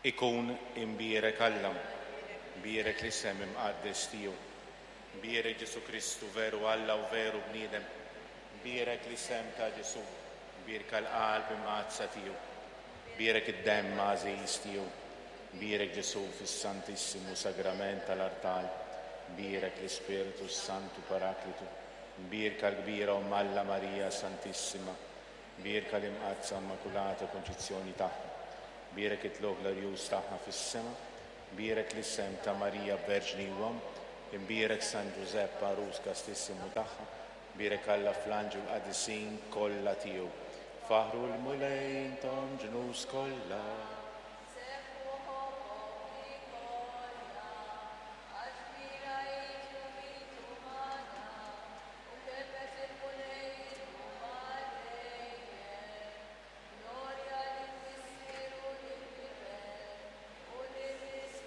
Ikun imbierek Alla, mbierek l-isem imqaddes tiegħu. Mbierek Ġesù Kristu, veru Alla u veru bniedem. Mbierek l-isem ta' Ġesù, mbierka l-qalb imqaddsa tiegħu. Mbierek id-demm għażiż tiegħu. Mbierek Ġesù fis-Santissimu Sagrament tal-artal. Mbierek l-Ispirtu s-Santu Paraklitu. Mbierka l-kbira Omm Alla Marija Santissima. Mbierka l-Imqaddsa Immakulata Konċizzjoni tagħha. Bierek it-tlugħ glorjuż tagħha fis-sema. Bierek l-isem ta' Marija Verġni u Omm. Imbierek San Ġużepp għarus kastissimu tagħha. Bierek Alla fl-anġli u l-qadisin kollha tiegħu. Faħħru l-Mulej intom ġnus kollha.